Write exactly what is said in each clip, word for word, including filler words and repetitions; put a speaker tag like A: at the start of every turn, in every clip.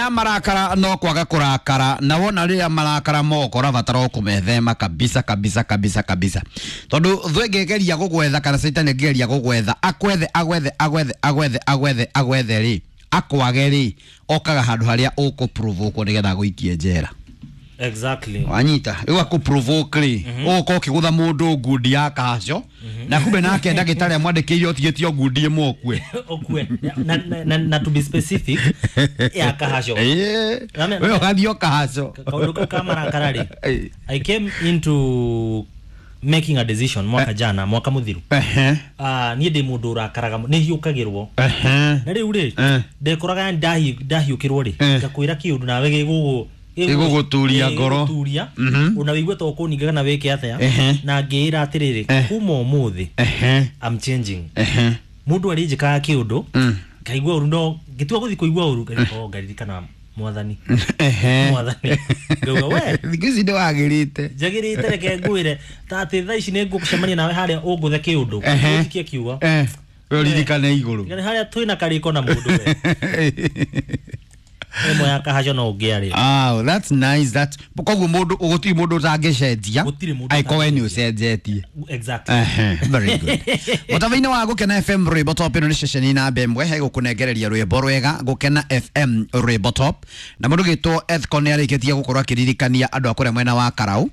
A: Ya marakara no kwaga kurakara na wona rĩrĩa marakara moko ũrabatara kũmethema kabisa kabisa kabisa kabisa, tondu thũ ĩngĩgeria gũgwetha kana caitani ĩngĩgeria gũgwetha akwethe agwethe agwethe agwethe agwethe agwethe rĩ akwage rĩ okaga handũ harĩa ũkũ-provoke nĩgetha agũikie njera.
B: Exactly.
A: Wanyita rĩu akũ-provoke rĩ ũgũkorwo ũkĩgũtha mũndũ ngundi ya kaco na kumbe nake ndagĩtarĩ amwandĩkĩire ũtigĩtio ngundi ĩmwe ũkue.
B: Okue na, na, na, na to be specific ya kahaco.
A: Ĩĩ, we ũgathiĩ o kahaco.
B: Kaundu kau ka marakara rĩ,
A: Ĩĩ.
B: I came into making a decision mwaka jana, mwaka muthiru.
A: Ehe.
B: uh, niĩ ndĩ mũndũ ũrakaraga nĩ hiũkagĩrwo.
A: Ehe.
B: Na rĩu rĩ,
A: Eh.
B: ndekoraga ndahiũkĩrwo rĩ,
A: Eh.
B: ngakwĩra kĩũndũ nawe gĩgũgũ
A: Gĩgũgũturia ngoro.
B: Gĩgũgũturia.
A: Mhm.
B: Ona wĩigue ta ũkũninga kana wĩke atĩa.
A: Ehe.
B: Na ngĩĩra atĩrĩrĩ,
A: Eh.
B: kuma ũmũthĩ
A: Ehe.
B: I'm changing.
A: Ehe.
B: Mũndũ arĩnjĩkaga kĩũndũ
A: Mm.
B: ngaigua ũru, no ngĩtua gũthiĩ kũigua ũru, oh, ngaririkana Mwathani.
A: Ehe.
B: Mwathani ngauga we
A: thikũ ici nĩ wagĩrĩte.
B: Njagĩrĩte, reke ngwĩre ta atĩ thaa ici nĩ ngũcemania nawe harĩa ũngũthe kĩũndũ,
A: Ehe.
B: ũnjikie kiugo.
A: Eh, we ũririkane igũrũ.
B: Nĩ harĩa twĩna karĩko na mũndũ we ĩmwe ya kahaco no ũngĩarĩ.
A: Ah, that's nice. That koguo mũndũ gũtirĩ mũndũ ũtangĩcenjia
B: Gũtirĩ mũndũ
A: angĩkorwo we nĩ
B: ũtangĩcenjia.
A: ũcenjetie.
B: Exactly.
A: Ehe, very good. Mũtaba-inĩ wa Gũkena F M Rwĩmbo Top, ĩno nĩ ceceni namba ĩmwe he gũkũnengereria rwĩmbo rwega, Gũkena F M Rwĩmbo Top. Na mũndũ gĩtwo Ethcon nĩ arĩkĩtie gũkorwo akĩririkania andũ a kũrĩa mwena wa Karau,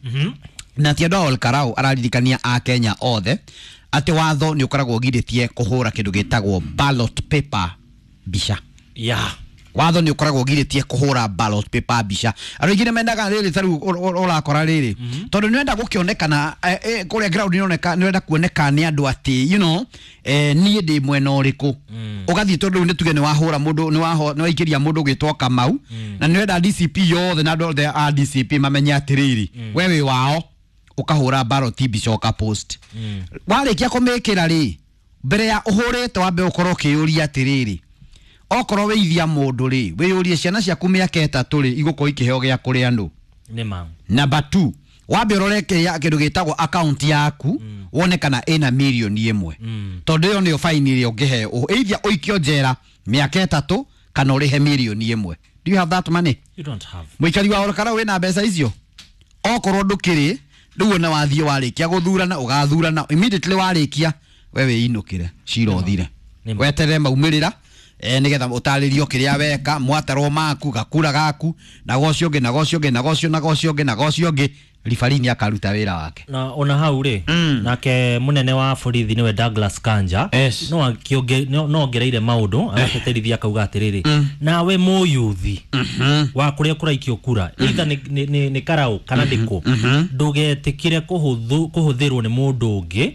A: na ti andũ a Ol Karau, araririkania a Kenya othe atĩ watho nĩ ũkoragwo ũgirĩtie kũhũra kĩndũ gĩtagwo ballot paper mbica.
B: Yeah
A: watho nĩ ũkoragwo ũgirĩtie kũhũra ballot paper mbica. Andũ aingĩ nĩ mendaga rĩrĩ, ta rĩu ũrakora rĩrĩ tondũ nĩ ũrenda gũkĩonekana eh, eh, kũrĩa ground nĩ ũroneka nĩ ũrenda kuoneka nĩ andũ atĩ you know eh, niĩ ndĩ mwena ũrĩkũ. Ũgathiĩ tondũ rĩu nĩ tuge nĩ wahũra mũndũ, nĩ waho nĩ waikĩria mũndũ ũgĩtwo Kamau, na nĩ ũrenda D C P yothe na andũ othe a D C P mamenye atĩrĩrĩ we wĩ wao, ũkahũra ballot mbica ũka post. Warĩkia kũmĩkĩra rĩ, mbere ya ũhũrĩte wambe ũkorwo ũkĩyũria atĩrĩrĩ, okorwo wĩithia mũndũ rĩ, wĩyũrie ciana ciaku mĩaka ĩtatũ rĩ igũkorwo ikĩheo gĩa kũrĩa nũ?
B: Nĩ ma.
A: Number two, wambe ũrore kĩrĩa kĩndũ gĩtagwo account yaku, wone kana ĩna mirioni ĩmwe, tondũ ĩyo nĩyo faini ĩrĩa ũngĩheo, ĩithia ũikio njera mĩaka ĩtatũ kana ũrĩhe mirioni ĩmwe. Do you have that money?
B: You don't have.
A: Mũikari wa Olkalau, wĩna mbeca icio? Okorwo ndũkĩrĩ, rĩu ona wathiĩ warĩkia gũthurana, ũgathurana, immediately warĩkia we wĩinũkĩre, cira ũthire.
B: Nĩ ma.
A: Weterere maumĩrĩra eh, nĩgetha ũtarĩrio kĩrĩa weka, mwatarwo maku gakura gaku na gocio ũngĩ na gocio ũngĩ na gocio na gocio ũngĩ na gocio ũngĩ, ribari nĩ akaruta wĩra wake.
B: Na ona hau rĩ,
A: Mm.
B: nake munene wa borithi niwe Douglas Kanja
A: Yes.
B: no akĩonge- no no ongereire maũndũ agateterithia akauga atĩrĩrĩ, nawe mũyuthi wa kũrĩa kũraikio kura, either nĩ, nĩ, nĩ, nĩ Karau kana ndĩkũ, ndũgetĩkĩre kũhũthũ- kũhũthĩrwo nĩ mũndũ ũngĩ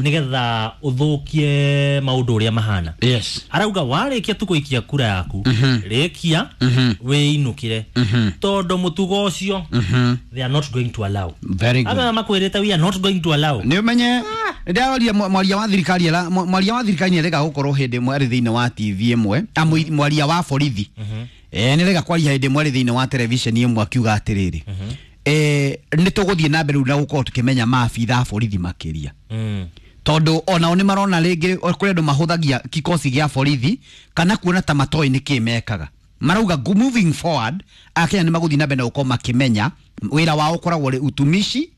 B: nĩgetha ũthũkie maũndũ ũrĩa mahana.
A: Yes
B: arauga warĩkia tu gũikia kura yaku, rĩkia wĩinũkĩre, tondũ mũtugo ũcio they are not going to allow.
A: Very good.
B: Aba makwĩrĩte, "We are not going to allow."
A: Nĩ ũmenye ndĩraria mwaria wa thirikari era mwaria wa thirikari nĩ arega gũkorwo hĩndĩ ĩmwe arĩ thĩinĩ wa T V ĩmwe, ah, mũi- mwaria wa borithi eh nĩ arega kwaria hĩndĩ ĩmwe arĩ thĩinĩ wa television ĩmwe akiuga atĩrĩrĩ, eh nĩ tũgũthiĩ na mbere rĩu na gũkorwo tũkĩmenya maabitha a borithi makĩria,
B: Mm.
A: tondũ onao nĩ marona rĩngĩ kũrĩ andũ mahũthagia kikosi gĩa borithi kana kuona ta matoĩ nĩkĩ mekaga. Marauga go- moving forward Akenya nĩ magũthiĩ na mbere na gũkorwo makĩmenya wĩra wao ũkoragwo ũrĩ utumishi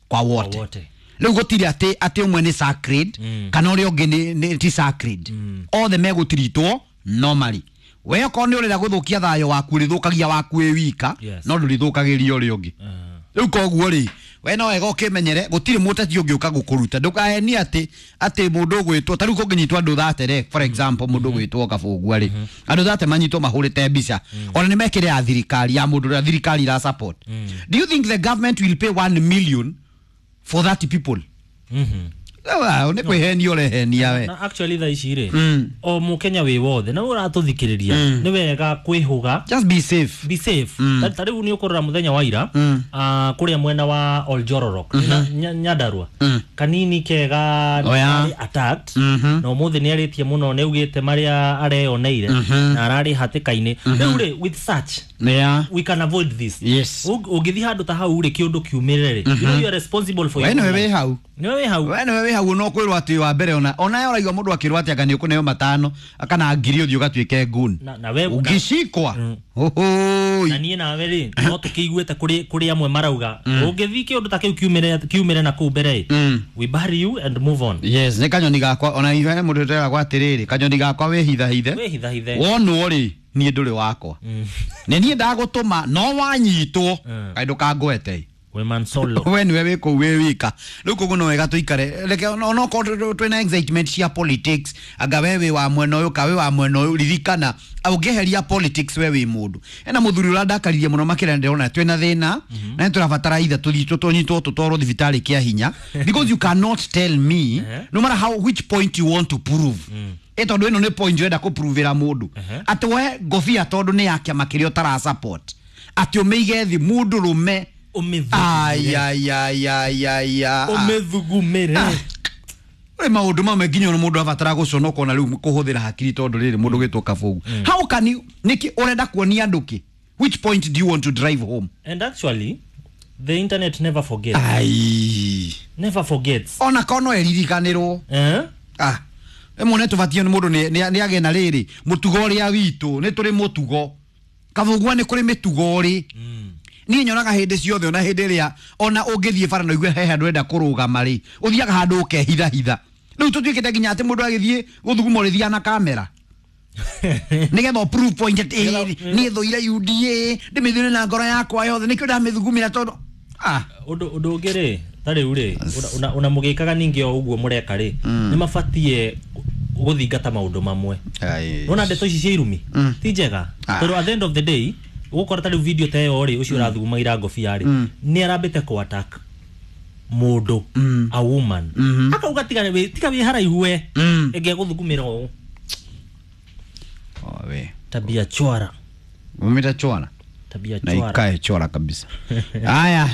A: kwa wote.
B: Wote.
A: Rĩu gũtirĩ atĩ atĩ ũmwe nĩ sacred
B: Mm.
A: kana ũrĩa ũngĩ nĩ- nĩ ti sacred, othe megũtiritwo normally. We okorwo nĩ ũrenda gũthũkia thayũ waku, ũrĩthũkagia waku wĩ wika,
B: Yes.
A: no ndũrĩthũkagĩria ũrĩa ũngĩ.
B: Uh,
A: Rĩu koguo rĩ, we no wega ũkĩmenyere gũtirĩ mũteti ũngĩũka gũkũruta. Ndũkahenie atĩ atĩ mũndũ ũgwĩtwo ta rĩu kũngĩnyitwo andũ thate, for example mũndũ ũgwĩtwo Kabũngua rĩ, andũ thate manyitwo mahũrĩte mbica, ona nĩ mekĩre ya thirikari ya mũndũ ũrĩa thirikari ira support, do you think the government will pay one million for thirty people?
B: mhm.
A: Wow, nĩ kwĩhenia ũrehenia we.
B: Na actually thaa ici rĩ,
A: Mm.
B: o mũkenya wĩ wothe na ũratũthikĩrĩria, nĩ wega kwĩhũga.
A: Just be safe.
B: Be safe. Ta- ta rĩu nĩ ũkũrora mũthenya wa ira,
A: Mm.
B: ah, kũrĩa mwena wa Oljororok, na- Nya- nyandarua
A: Mm.
B: kanini kega
A: Oh, yeah.
B: arĩ attacked,
A: Mhm.
B: na ũmũthĩ nĩ arĩtie mũno, nĩ augĩte marĩa areyoneire na ararĩ hatĩka-inĩ. Rĩu rĩ, with such
A: yeah
B: we can avoid this.
A: Yes.
B: Ũng- ũngĩthiĩ handũ ta hau rĩ, kĩũndũ kiumĩre rĩ, you know you are responsible for
A: we
B: your
A: nĩwe
B: own
A: wĩ
B: life.
A: hau.
B: Nĩwe wĩ hau.
A: We nĩwe wĩ hau no kwĩrwo atĩ wa mbere ona ona we ũraigua mũndũ akĩrwo atĩ anga nĩ ũkũneo matano kana ngiri ũthiĩ ũgatuĩke nguni
B: Na- na we-
A: ũngĩcikwa
B: Mm.
A: Ũhũi.
B: Na niĩ nawe rĩ, no tũkĩiguĩte kũrĩ kũrĩ amwe marauga ũngĩthiĩ kĩũndũ ta kĩu kiumĩre kiumĩre na kũu mbere ĩ,
A: Mm.
B: we bury you and move on.
A: Yes, nĩ kanyoni gakwa ona ithuĩ mũndũ tũreragwo atĩrĩrĩ, kanyoni gakwa wĩhithahithe.
B: Wĩhithahithe.
A: Wonwo rĩ, niĩ ndũrĩ wakwa, nĩ niĩ ndagũtũma no wanyitwo
B: Mm.
A: kaĩ ndũkangwete.
B: We man solo.
A: We niwe wĩ kũu wĩ wika. Rĩu koguo no wega tũikare, reke onokorwo twĩna excitement cia politics, anga we wĩ wa mwena ũyũ ka wĩ wa mwena ũyũ, ririkana ũngĩeheria politics we wĩ mũndũ. Ena mũthuri ũrandakaririe mũno makĩria, ndĩrona twĩna thĩna na nĩ tũrabatara itha tũthiĩ tũnyitwo tũtwarwo thibitarĩ kĩa hinya, because you cannot tell me, no matter how, which point you want to prove, ĩ tondũ ĩno nĩ point ũrenda kũprovĩra mũndũ atĩ we ngobia tondũ nĩ ya kĩama kĩrĩa ũtara support atĩ ũmĩige thĩ mũndũ rũme.
B: Ũmĩthugumĩre.
A: Ayayayaya.
B: Ũmĩthugumĩre.
A: Uri maundu mamwe nginya ona mundu abatara guconoka ona riu kuhuthira hakiri, tondu riri mundu gwitwo Kabugu, how can you, niki urenda kuonia andu ki? Which point do you want to drive home?
B: And actually the internet never forgets.
A: Ai.
B: Never forgets.
A: Ona kono eririkanirwo.
B: Eh?
A: Ah, ĩmwe nĩ tũbatie nĩ mũndũ nĩ- nĩ nĩ agĩe na rĩrĩ mũtugo ũrĩa witũ nĩ tũrĩ mũtugo Kabugua, nĩ kũrĩ mĩtugo rĩ. Niĩ nyonaga hĩndĩ ciothe, ona hĩndĩ ĩrĩa ona ũngĩthiĩ bara na ũigue he handũ ũrenda kũrũgama rĩ, ũthiaga handũ ũkehithahitha. Rĩu tũtuĩkĩte nginya atĩ mũndũ agĩthiĩ gũthuguma ũrĩthiaga na kamera nĩgetha ũ prove point atĩ ĩ, niĩ thũire U D A, ndĩmĩthũire na ngoro yakwa yothe, nĩkĩo ndamĩthugumĩra tondũ ah.
B: Ũndũ ũndũ ũngĩ rĩ, ta rĩu rĩ, ona- ona mũgĩkaga ningĩ o ũguo mũreka rĩ, nĩ mabatie gũthingata maũndũ mamwe. Nona ndeto ici cia irumi ti njega,
A: Ah.
B: tondũ at the end of the day ũgũkora ta rĩu video ta ĩyo rĩ, ũcio ũrathugumagĩra ngobia rĩ, nĩ arambĩte kũ attack mũndũ, a woman, akauga tiga wĩ- tiga wĩ haraihu we
A: Mm.
B: ĩngĩgũthugumĩra ũũ.
A: Oh, we.
B: Tabia chwara.
A: Umita chwara.
B: Tabia
A: Na
B: chwara.
A: ikae chwara kabisa. Haya.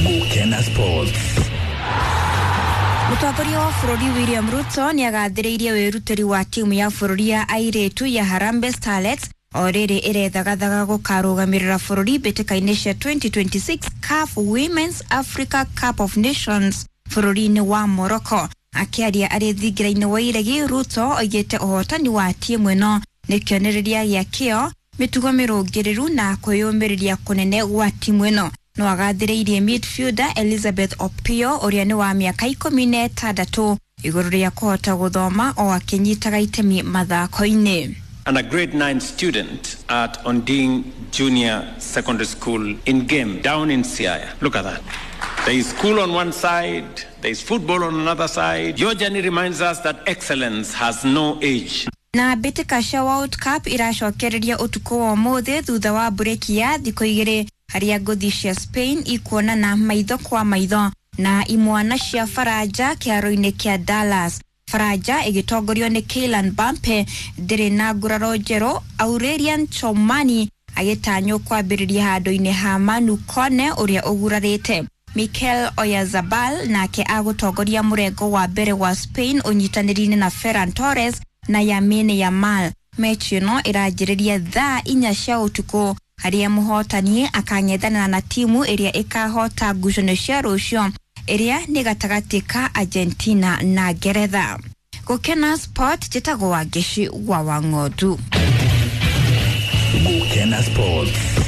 C: Gukena Sports.
D: Mũtongoria wa bũrũri William Ruto nĩ agathĩrĩirie wĩrutĩri wa timu ya bũrũri ya airĩtu ya Harambee Starlets o rĩrĩ ĩrethagathaga gũkarũgamĩrĩra bũrũri mbĩtĩka-inĩ cia twenty twenty-six CAF Women's Africa Cup of Nations bũrũri-inĩ wa Morocco. Akĩaria arĩ thingira-inĩ wa iregi, Ruto oigĩte ũhotani wa timu ĩno nĩ kĩonereria gĩa kĩo, mĩtugo mĩrũngĩrĩru na kwĩyũmĩrĩria kũnene gwa timu ĩno. No agathĩrĩirie midfielder Elizabeth Opio ũrĩa nĩ wa mĩaka ikũmi na ĩtandatũ igũrũ rĩa kũhota gũthoma o akĩnyitaga itemi mathako-inĩ.
E: And a grade nine student at Onding Junior Secondary School in Game, down in Siaya. Look at that. There is school on one side, there is football on another side. Your journey reminds us that excellence has no age.
D: Na mbĩtĩka cia World Cup iracokereria ũtukũ wa ũmũthĩ thutha wa mburĩki ya thikũ igĩrĩ, harĩa ngũthi cia Spain ikuonana maitho kwa maitho na imwana cia Faranja kĩharo-inĩ kĩa Dallas. Faranja ĩgĩtongorio nĩ Kylian Mbappe ndĩrĩ na nguraro njerũ, Aurelien Tchouameni agĩtanywo kwambĩrĩria handũ-inĩ ha Manu Kone ũrĩa ũgurarĩte. Mikel Oyarzabal nake agũtongoria mũrengo wa mbere wa Spain ũnyitanĩri-inĩ na Ferran Torres na Lamine Yamal. Mechi ĩno ĩranjĩrĩria thaa inya cia ũtukũ, harĩa mũhotani akang'ethanĩra na timu ĩrĩa ĩkahota ngucanio cia rũciũ ĩrĩa nĩ gatagatĩ ka Argentina na Ngeretha. Gũkena Sport, njĩtagwo Wangeci wa Wang'ondu.
C: Gukena Sports.